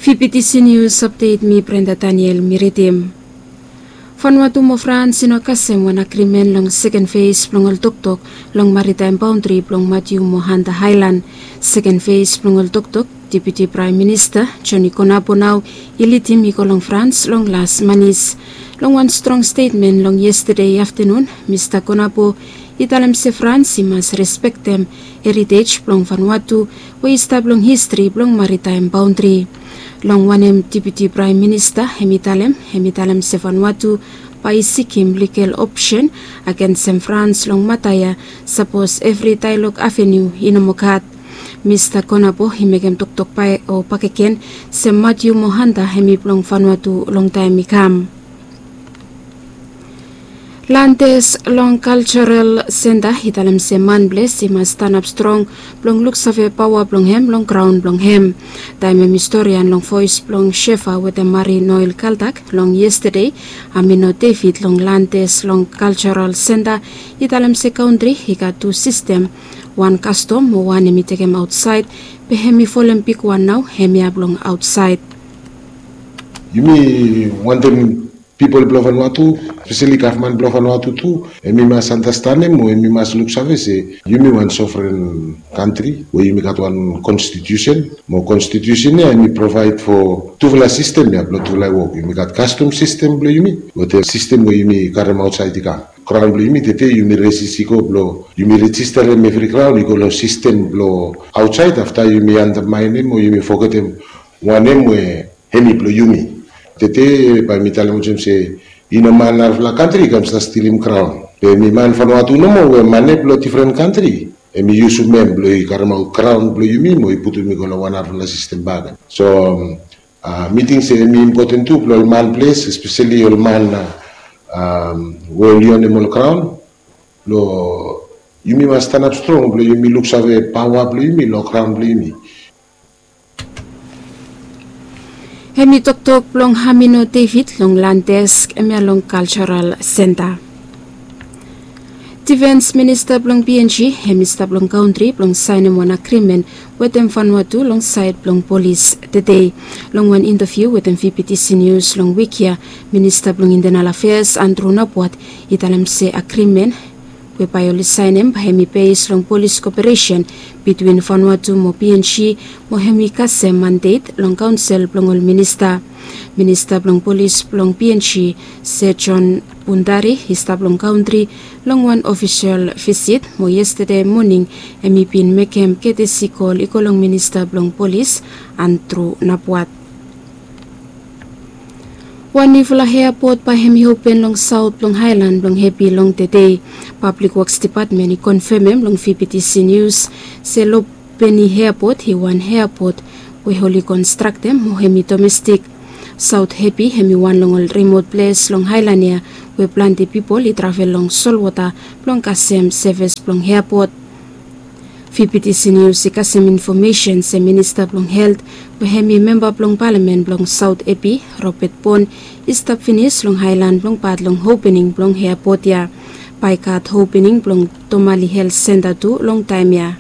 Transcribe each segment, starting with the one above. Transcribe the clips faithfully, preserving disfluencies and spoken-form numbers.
Fifty C News Update, mi Brenda Daniel mi ridim. Vanuatu mo Frans i no kasem wan agrimen long seken fes blong ol toktok long maritaem baondri blong Matiu mo Hanta Haelan. Seken fes blong ol toktok Deputi Praem Minista Joni Konabo nao i lidim i go long Frans long las manis. Long wan strong stetmen long yestade aftanun, Mista Konabo i talem se Frans i mas respektem heritej blong Vanuatu we i stap long histri blong maritaem baondri. Long wanem Deputi Praem Minista hem i talem, hem i talem se Vanuatu bae i sikim ligal opsen agensem Frans long mata ya sapos evri daelog avenu i no moa gat. Mista Konabo i mekem toktok bae o bakegen se Matiu mo Hanta hem i blong Vanuatu long taem i kam. Landes long Kaljoral Senta i talem se manples i mas stanap strong blong luksave paoa blong hem long graon blong hem. Taem hem i storian long voes blong Shefa wetem Mari Noel Kaldak long yestade, Amino David long Landes long Kaljoral Senta i talem se kantri i gat tu sistem, wan kastom mo wan hem i tekem aotsaed, be hem i folem bigwan nao hemia blong aotsaed. Yumi wantem pipol blong Vanuatu, speseli gavman blong Vanuatu tu, hem i mas andastanem o hem i mas luksave se yumi wan sovren kantri we yumi gat wan konstitiusen, mo konstitiusen ya hem i provaed fo tufala sistem ya blong tufala i wok. Yumi gat kastom sistem blong yumi wetem sistem we yumi karem aotsaed i kam. Graon blong yumi tede yumi resis i go blong yumi rejisterem evri graon i go long sistem blong aotsaed, afta yumi andamaenem o yumi fogetem wanem we hem i blong yumi. Tede bae mi talem olsem se i no man narafala kantri i kam stap stilim graon. Be hem i man Vanuatu nomo we mane blong difren kantri hem i yusum hem blong i karemaot graon blong yumi mo i putum i go long wan narafala sistem bakegen. So, a, mi ting se hem i impoten tu blong ol man ples, espeseli ol man, a, we oli onem ol graon, blong yumi mas stanap strong blong yumi luksave paoa blong yumi long graon blong yumi. Hem i toktok blong Amino David long Landes, hemia long Kaljoral Senta. Difens Minista blong P N G hem i stap long kantri blong saenem wan agrimen wetem Vanuatu long saed blong polis tede. Long wan intaviu wetem V P T C News long wik ya, Minista blong Intenal Afeas Andrew Napuat i talem se agrimen we bae oli saenem bae hem i bes long polis koperesen bitwin Vanuatu mo P N G, mo hem i kasem mandet long kaonsel blong ol minista. Minista blong polis blong P N G, Sir John Bundari, i stap long kantri long wan ofisol visit, mo yestade moning hem i bin mekem ketesi kol i go long Minista blong Polis, Andrew Napuat. Wan niufala eapot bae hem i open long saot blong aelan blong Hepi long tede. Pablik Woks Depatmen i konfemem long V P T C News se Lubeni Eapot i wan eapot we oli konstraktem mo hem i domestik. Saot Hepi hem i wan long ol rimot ples long aelan ya we plante pipol i travel long solwota blong kasem sevis blong eapot. V P T C News i kasem infomesen se Minista blong Helt we hem i memba blong palamen blong Saot Hepi, Robert Bon, i stap finis long aelan blong pat long opening blong eapot ya. Bae i gat opening blong Tomali Helt Senta tu long taem ya.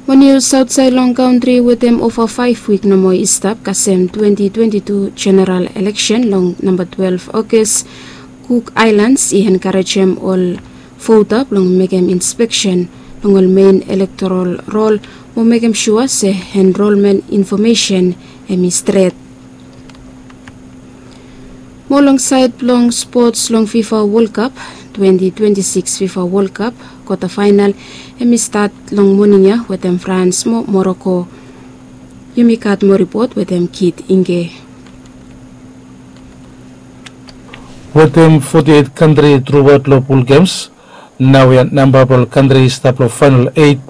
Mo nius aotsaed long kantri, wetem ova faef wik nomo i stap kasem twenti twenti tu jeneral eleksen long namba twelef Ogas, Cook Islands i enkarejem ol vota blong mekem inspeksen long ol mein elektoral rol mo mekem sua se enrolmen infomesen hem i stret. Mo long saed blong spots long FIFA World Cup, twenti twenti sikis FIFA World Cup kwata faenal hem i stat long moning ya wetem Frans mo Moroko. Yumi gat moa ripot wetem Kit Inge. Wetem foti eit kantri truaot long pul gems, naoia namba blong ol kantri i stap long faenal eit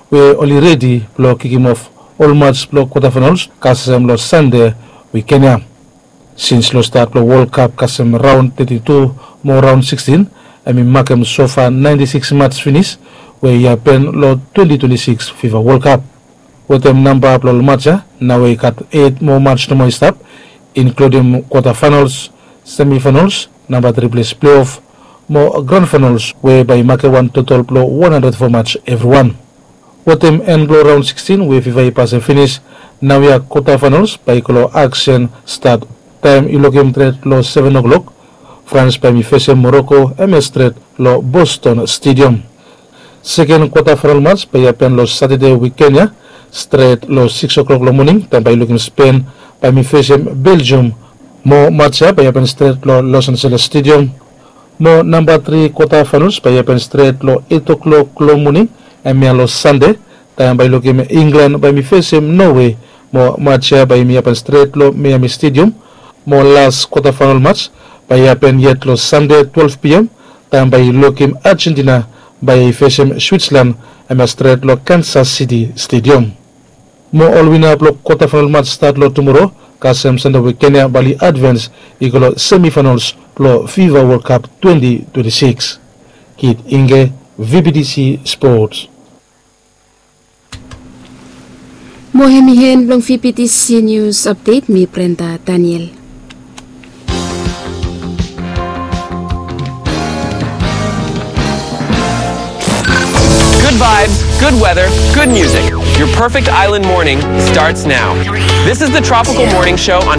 we oli redi blong kikimof ol maj blong kwata faenals kasem long Sande wiken ya. Sins long stat blong World Cup kasem raon teti tu mo raon sikstin, hem i makem sofa naenti sikis maj finis we i hapen long twenti twenti sikis FIFA World Cup. Wetem namba blong ol maj ya, naoia i gat eit moa maj nomo i stap, inkludim kwata faenals, semi faenals, namba tri ples pleof mo gran faenals we bae i makem wan totol blong wan handred fo maj evriwan. Wetem en blong raon sikstin we fifa i pasem finis, naoia kwata fainals bae i go long aksen stat. Taem i lukim tret long seven o'klok, frans bae mi fesem moroko, hemia stret long boston stedium. Seken kwata fainal mats bae i hapen long satade wiken ya, stret long sikis o'klok long moning taem bae i lukim spen bae mi fesem belgium. Mo mats ya bae i hapen stret long los angeles stedium. Mo namba tri kwata fainals bae i hapen stret long eit o'klok long moning, hemia long sande, taem bae i lukim inglan bae mi fesem nowe. Mo mats ya bae i mi hapen stret long miami stedium. Mo las kwata fainal mats bae i hapen yet long sande twelve pm, taem bae i lukim argentina bae i fesem switzerland, hemia stret long kansas siti stedium. Mo ol wina blong kwata fainal mats stat long tumoro, kasem sande wiken ya bae oli advens i go long semifainals blong fifa wol kap twenti twenti siks. Kit inge, vptc sports. Mo hemi hen blong vptc nius apdet, mi brenda daniel. Good vibes, good weather, good music. Your perfect island morning starts now. This is the Tropical Morning Show on